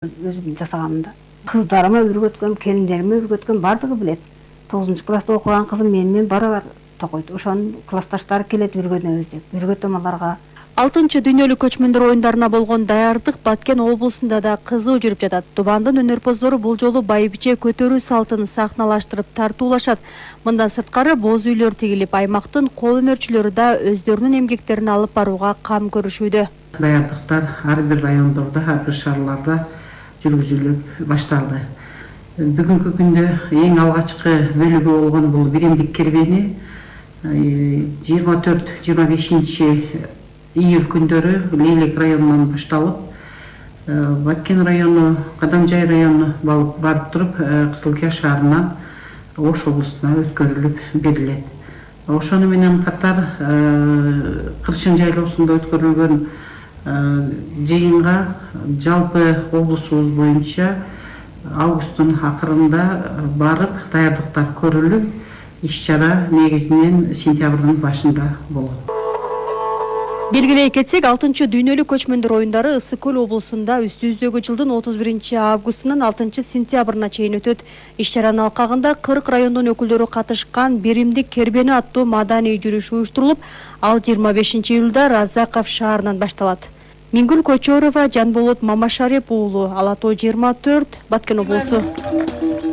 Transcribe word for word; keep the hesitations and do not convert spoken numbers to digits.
өзүм жасаганымда. Кыздарыма үйрөткөм, келиндериме үйрөткөм, бардыгы билет. тогузунчу класста окуган кызым менен барабар токойт. Ошонун классташтары келет үйрөнөбүз деп. Үйрөтөм аларга. алтынчы дүйнөлүк көчмөндөр оюндарына болгон даярдык Баткен облусунда да кызуу жүрүп жатат. Тубандын өнөрпоздору бул жолу байбиче көтөрүү салтын сахналаштырып тартуулашат. Мындан сырткары боз үйлөр тигилип, аймактын кол өнөрчүлөрү да өздөрүнүн эмгектерин алып барууга кам көрүшүүдө. Даярдыктар ар бир райондордо, ар бир шаарларда жүргүзүлүп башталды. Бүгүнкү күндө эң алгачкы бөлүгү болгон бул биримдик кербени жыйырма төрт жыйырма бешинчи июль күндөрү Лейлек районунан башталып, Баткен району, Кадамжай району барып туруп, Кызылкия шаарынан Ош облусуна өткөрүлүп берилет. Ошону менен катар Кыршын жайлоосунда өткөрүлгөн жыйынга жалпы облусубуз боюнча августтун акырында барып даярдыктар көрүлүп, иш-чара негизинен сентябрдын башында болот. Белгилей кетсек, алтынчы дүйнөлүк көчмөндөр оюндары Ысык Көл облусунда үстүбүздөгү жылдын отуз биринчи августунан алтынчы сентябрына чейин өтөт. Иш-чаранын алкагында кырк райондун өкүлдөрү катышкан биримдик кербени аттуу маданий жүрүш уюштурулуп, ал жыйырма бешинчи июлда Разаков шаарынан башталат. Мингүл Кочорова, Жанболот Мамашареп уулу, Ала тоо жыйырма төрт, Баткен облусу.